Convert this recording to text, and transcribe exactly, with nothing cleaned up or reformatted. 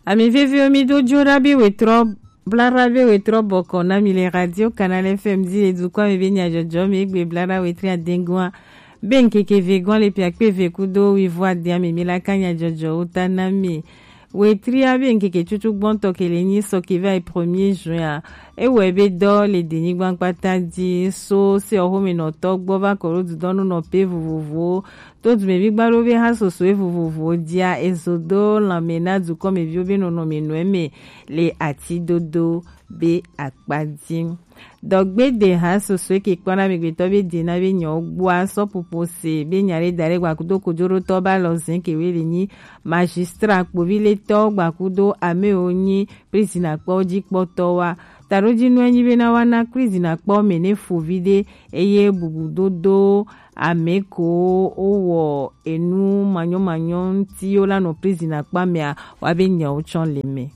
Ami veviwo, mi do jo ɖa be wetrɔ bla ɖa be wetrɔ bɔkɔ na mi le Radio Canal F M dzi le dukɔa me be nyadzɔdzɔ me egbe bla ɖa wetri adengua be ŋkeke ve gɔn le piakpe ve kudo wivo adea me mi la ka nyadzɔdzɔwo ta na mi. Wetria be ŋkeke tutu gbɔntɔ ke le nyi sɔ ke va yi premier juin a. Ewɔe be dɔ le denyigba kpata dzi so se ɔxomenɔtɔ gbɔ va kɔ ɖo dudɔnu nɔ pe vovovowo to dumevi gbaɖo be ha sosoe vovovowo dzia ezo do lanme na dukɔmeviwo be nɔnɔme nɔe me le ati dodo be akpa dzi. Dɔgbe de ha sosoe ke kpɔna amegbetɔ be dina be nyawo gbɔa sɔ popo se be nya ɖe da ɖe gbakudo kojoɖotɔ ba lɔ zin ke we le nyi magistrat kpovi le tɔ gbakudo amewo nyi prison akpɔ dzi kpɔtɔ wa. Taɖo dzi nɔe nyi be na wa na prison akpɔ me ne fovi ɖe eye bubu dodo ame ko wowɔ enu manyɔmanyɔ ŋuti yo la nɔ prison akpa mea wa be nyawo tsɔ le me.